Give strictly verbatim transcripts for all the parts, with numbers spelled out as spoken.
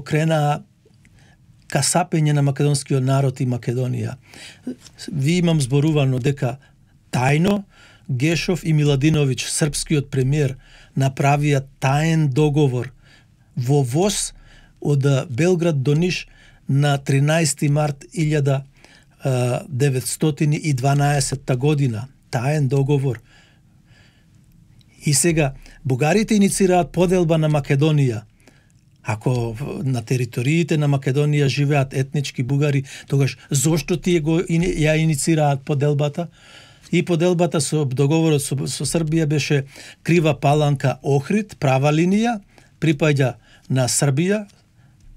кренаа касапење на македонскиот народ и Македонија. Ви имам зборувано дека тајно Гешов и Миладиновиќ, српскиот премиер, направија таен договор во воз од Белград до Ниш на тринаесети март илјада деветстотини и дванаесетта година. Таен договор. И сега, бугарите иницираат поделба на Македонија. Ако на териториите на Македонија живеат етнички бугари, тогаш зошто тие го ја иницираат поделбата? И поделбата со договорот со, со Србија беше Крива Паланка Охрид, права линија, припаѓа на Србија,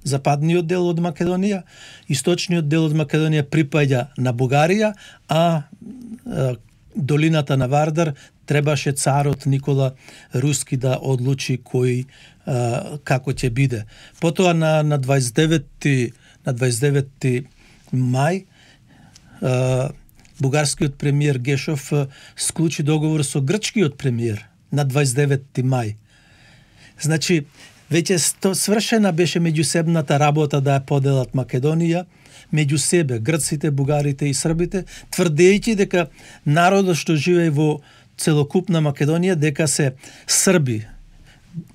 западниот дел од Македонија, источниот дел од Македонија припаѓа на Бугарија, а, а долината на Вардар требаше царот Никола Руски да одлучи кој а, како ќе биде. Потоа на на дваесет и деветти на дваесет и деветти мај а, бугарскиот премиер Гешов склучи договор со грчкиот премиер на дваесет и деветти мај. Значи, веќе свршена беше меѓусебната работа да ја поделат Македонија, меѓу себе, грците, бугарите и србите, тврдејќи дека народот што живее во целокупна Македонија дека се срби.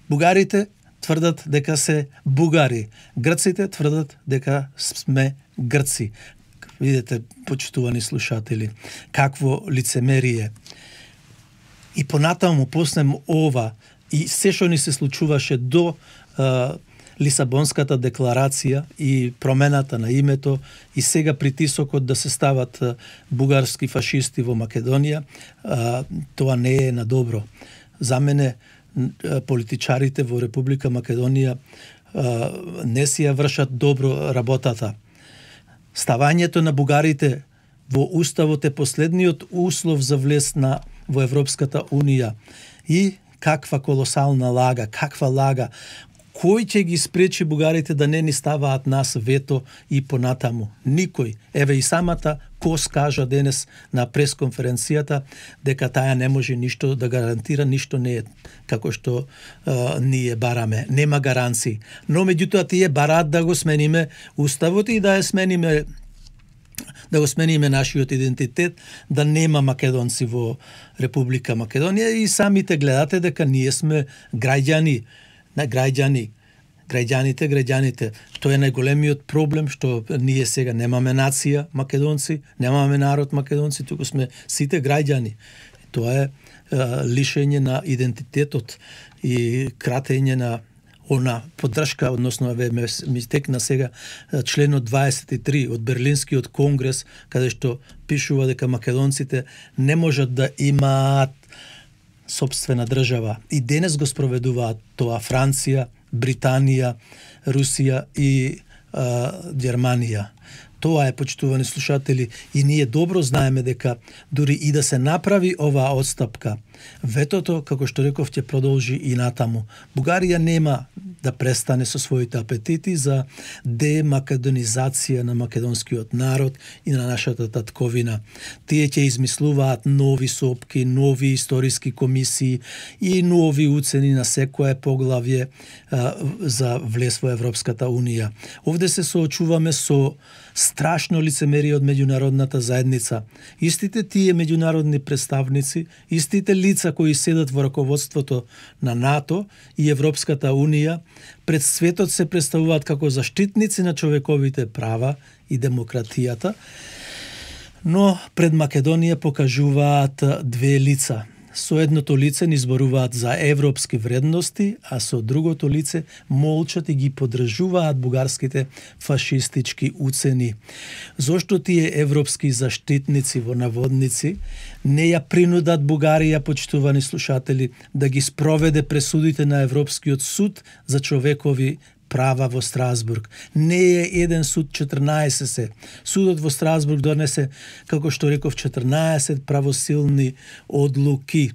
Бугарите тврдат дека се бугари. Грците тврдат дека сме грци. Видете, почитувани слушатели, какво лицемерие. И понатаму после ова и се што ни се случуваше до а, Лисабонската декларација и промената на името и сега притисокот да се стават а, бугарски фашисти во Македонија, а, тоа не е на добро. За мене а, политичарите во Република Македонија а, не си ја вршат добро работата. Ставањето на бугарите во уставот е последниот услов за влез на во Европската унија. И каква колосална лага, каква лага. Кој ќе ги спречи бугарите да не ни ставаат нас вето и понатаму? Никој. Еве и самата Кос кажа денес на пресконференцијата дека таја не може ништо да гарантира, ништо не е како што uh, ние бараме. Нема гаранции. Но меѓутоа тие бараат да го смениме уставот и да ја смениме да го смениме нашиот идентитет, да нема македонци во Република Македонија и самите гледате дека ние сме граѓани, на граѓани, граѓаните, граѓаните. Тоа е најголемиот проблем што ние сега немаме нација македонци, немаме народ македонци, туку сме сите граѓани. Тоа е, е лишење на идентитетот и кратење на она поддршка, односно еве ми текна сега членот дваесет и три од Берлинскиот конгрес, каде што пишува дека македонците не можат да имаат сопствена држава. И денес го спроведуваат тоа Франција, Британија, Русија и а, Германија. Тоа е, почитувани слушатели, и ние добро знаеме дека дури и да се направи оваа отстапка, ветото, како што реков, ќе продолжи и натаму. Бугарија нема да престане со своите апетити за демакедонизација на македонскиот народ и на нашата татковина. Тие ќе измислуваат нови сопки, нови историски комисии и нови уцени на секое поглавје а, за влез во Европската унија. Овде се соочуваме со страшно лицемерие од меѓународната заедница. Истите тие меѓународни представници, истите лица кои седат во раководството на НАТО и Европската унија, пред светот се представуваат како заштитници на човековите права и демократијата, но пред Македонија покажуваат две лица. Со едното лице ни зборуваат за европски вредности, а со другото лице молчат и ги поддржуваат бугарските фашистички уцени. Зошто тие европски заштитници во наводници не ја принудат Бугарија, почитувани слушатели, да ги спроведе пресудите на Европскиот суд за човекови права во Страсбург? Не е еден суд, четрнаесет се. Судот во Страсбург донесе, како што реков, четрнаесет правосилни одлуки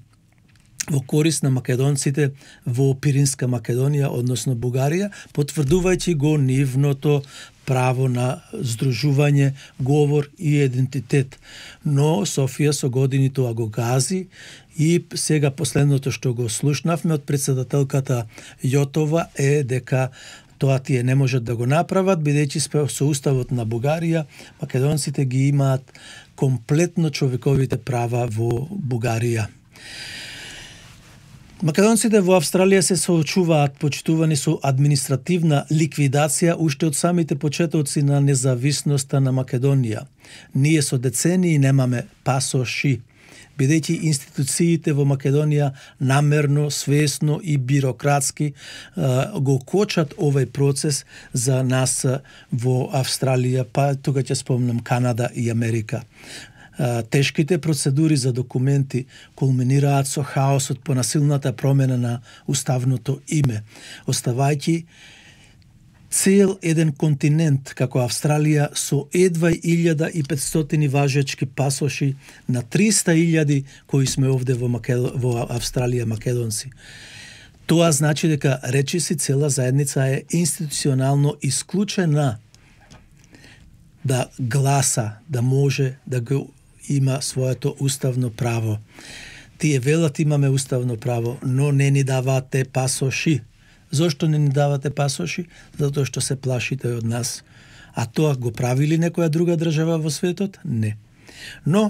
во корист на македонците во Пиринска Македонија, односно Бугарија, потврдувајќи го нивното право на здружување, говор и идентитет. Но Софија со години тоа го гази и сега последното што го слушнавме од председателката Јотова е дека Тоа тие не можат да го направат, бидејќи со уставот на Бугарија, македонците ги имаат комплетно човековите права во Бугарија. Македонците во Австралија се соочуваат почитувани со административна ликвидација уште од самите почетоци на независноста на Македонија. Ние со децении немаме пасоши, бидејќи институциите во Македонија намерно, свесно и бирократски го кочат овој процес за нас во Австралија, па тука ќе спомнам Канада и Америка. Тешките процедури за документи кулминираат со хаосот по насилната промена на уставното име, оставајќи цел еден континент како Австралија со едва илјада и петстотини важечки пасоши на триста илјади кои сме овде во, Македо... во Австралија македонци. Тоа значи дека речиси цела заедница е институционално исклучена да гласа, да може да го има своето уставно право. Тие велат имаме уставно право, но не ни даваат те пасоши. Зошто не ни давате пасоши? Затоа што се плашите од нас. А тоа го прави ли некоја друга држава во светот? Не. Но,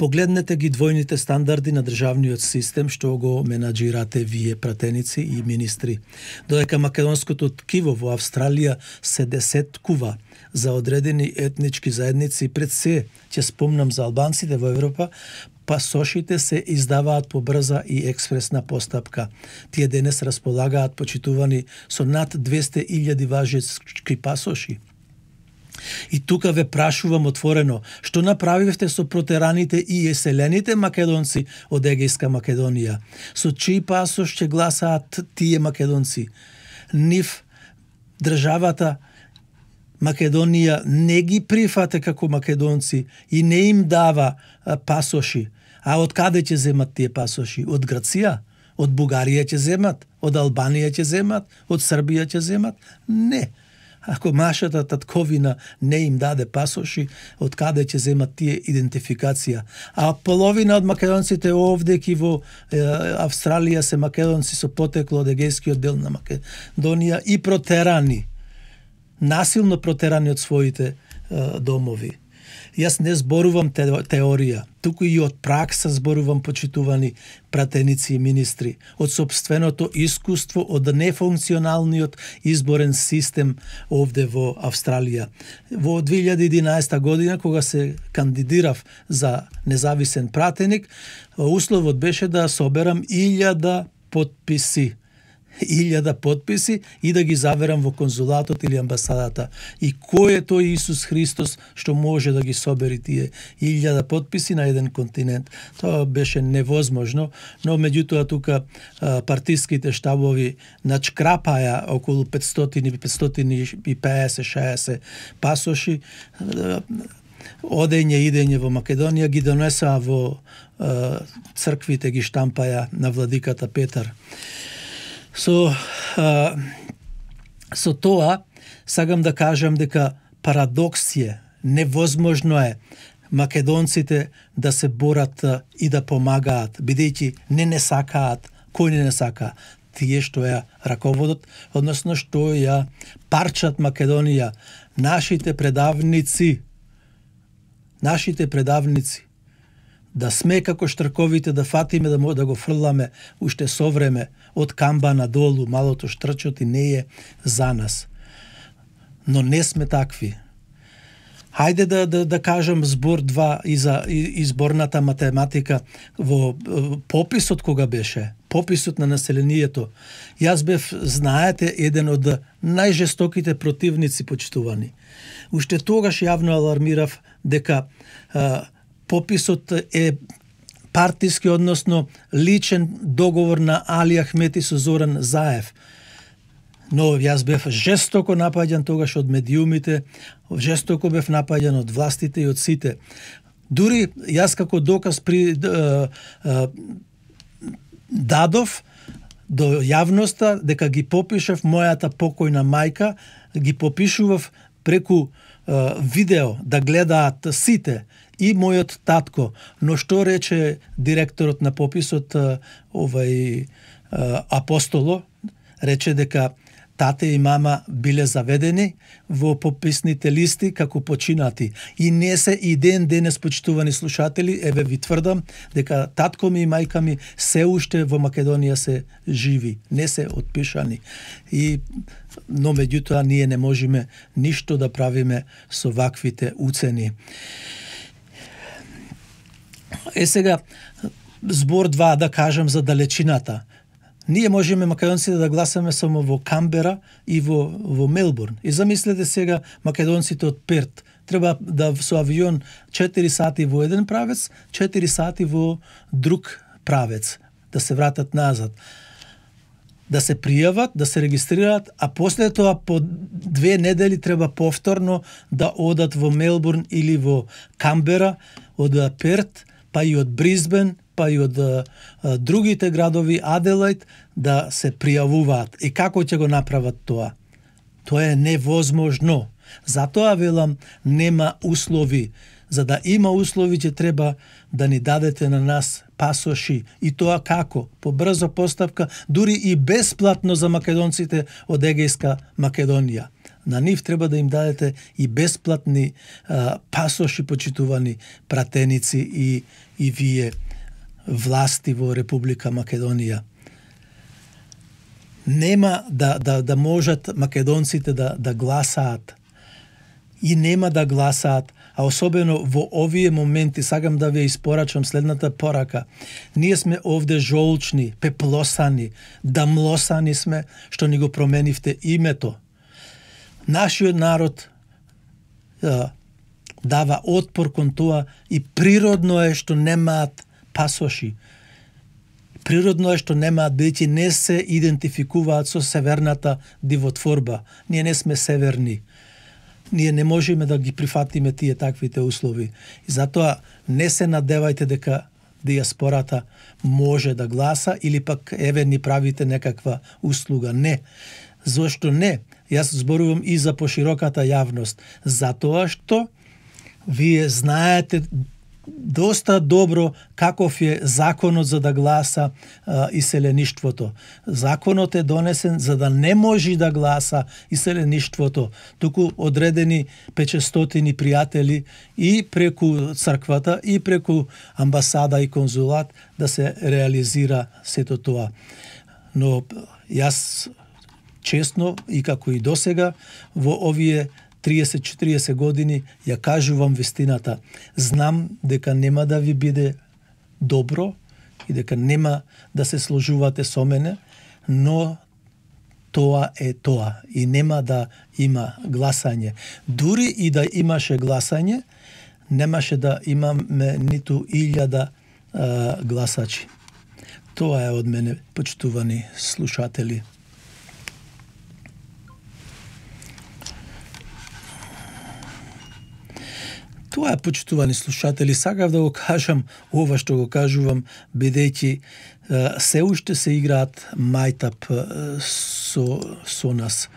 погледнете ги двојните стандарди на државниот систем што го менаџирате вие пратеници и министри. Додека македонското ткиво во Австралија се десеткува за одредени етнички заедници, пред се ќе спомнам за албанците во Европа, пасошите се издаваат по брза и експресна постапка. Тие денес располагаат почитувани со над двесте илјади важечки пасоши. И тука ве прашувам отворено, што направивте со протераните и еселените македонци од Егејска Македонија? Со чиј пасош ќе гласаат тие македонци? Нив државата Македонија не ги прифате како македонци и не им дава а, пасоши. А од каде ќе земат тие пасоши? Од Грција? Од Бугарија ќе земат? Од Албанија ќе земат? Од Србија ќе земат? Не. Ако машата татковина не им даде пасоши, од каде ќе земат тие идентификација? А половина од македонците овде ки во е, Австралија се македонци со потекло од егејскиот дел на Македонија и протерани, насилно протерани од своите е, домови. Јас не зборувам те, теорија, туку и од пракса зборувам, почитувани пратеници и министри, од собственото искуство, од нефункционалниот изборен систем овде во Австралија. Во две илјади и единаесета година, кога се кандидирав за независен пратеник, условот беше да соберам илјада подписи. илјада подписи и да ги заверам во конзулатот или амбасадата. И кој е тој Исус Христос што може да ги собери тие илјада подписи на еден континент? Тоа беше невозможно, но меѓутоа тука партиските штабови начкрапаја околу петстотини, петстотини и пеесет шеесет пасоши, одење и идење во Македонија, ги донесаа во црквите, ги штампаја на владиката Петар. Со, а, со тоа, сакам да кажам дека парадокс е, невозможно е македонците да се борат и да помагаат, бидејќи не не сакаат, кој не не сака? Тие што ја раководот, односно што ја парчат Македонија, нашите предавници, нашите предавници, да сме како штрковите, да фатиме, да може да го фрламе уште со време од камба надолу, малото штрчот и не е за нас. Но не сме такви. Хајде да, да, да кажам збор два и за изборната математика во пописот кога беше, пописот на населението. Јас бев, знаете, еден од најжестоките противници, почитувани. Уште тогаш јавно алармирав дека а, пописот е партиски, односно личен договор на Али Ахмети со Зоран Заев. Но јас бев жестоко напаѓан тогаш од медиумите, жестоко бев напаѓан од властите и од сите. Дури јас како доказ при а, а, дадов до јавноста дека ги попишав мојата покојна мајка, ги попишував преку а, видео да гледаат сите, и мојот татко. Но што рече директорот на пописот, овај Апостоло? Рече дека тате и мама биле заведени во пописните листи како починати. И не се и ден денес, почитувани слушатели, еве ви тврдам дека татко ми и мајка ми се уште во Македонија се живи, не се отпишани. И но меѓутоа ние не можеме ништо да правиме со ваквите уцени. Е сега, збор два да кажам за далечината. Ние можеме македонците да гласаме само во Камбера и во, во Мелбурн. И замислете сега македонците од Перт. Треба да со авион четири сати во еден правец, четири сати во друг правец, да се вратат назад. Да се пријават, да се регистрираат, а после тоа по две недели треба повторно да одат во Мелбурн или во Камбера, од Перт, па и од Брисбен, па и од а, другите градови, Аделаид, да се пријавуваат. И како ќе го направат тоа? Тоа е невозможно. Затоа велам, нема услови. За да има услови, ќе треба да ни дадете на нас пасоши. И тоа како? По брзо постапка, дури и бесплатно за македонците од Егејска Македонија. На нив треба да им дадете и бесплатни а, пасоши, почитувани пратеници и, и вие власти во Република Македонија. Нема да, да, да можат македонците да, да гласаат. И нема да гласаат, а особено во овие моменти, сакам да ви испорачам следната порака. Ние сме овде жолчни, пеплосани, дамлосани сме, што ни го променивте името. Нашиот народ а, дава отпор кон тоа и природно е што немаат пасоши. Природно е што немаат, бидејќи не се идентификуваат со северната дивотворба. Ние не сме северни. Ние не можеме да ги прифатиме тие таквите услови. И затоа не се надевајте дека диаспората може да гласа или пак еве ни правите некаква услуга. Не. Зошто не? Јас зборувам и за пошироката јавност. Затоа што вие знаете доста добро каков е законот за да гласа а, иселеништвото. Законот е донесен за да не може да гласа иселеништвото, туку одредени петстотини пријатели и преку црквата и преку амбасада и конзулат да се реализира сето тоа. Но јас честно и како и досега во овие триесет четириесет години ја кажувам вистината. Знам дека нема да ви биде добро и дека нема да се сложувате со мене, но тоа е тоа и нема да има гласање. Дури и да имаше гласање, немаше да имаме ниту илјада а, гласачи. Тоа е од мене, почитувани слушатели. Тоа е, почитувани слушатели, сакав да го кажам ова што го кажувам, бидејќи се уште се играат мајтап со, со нас.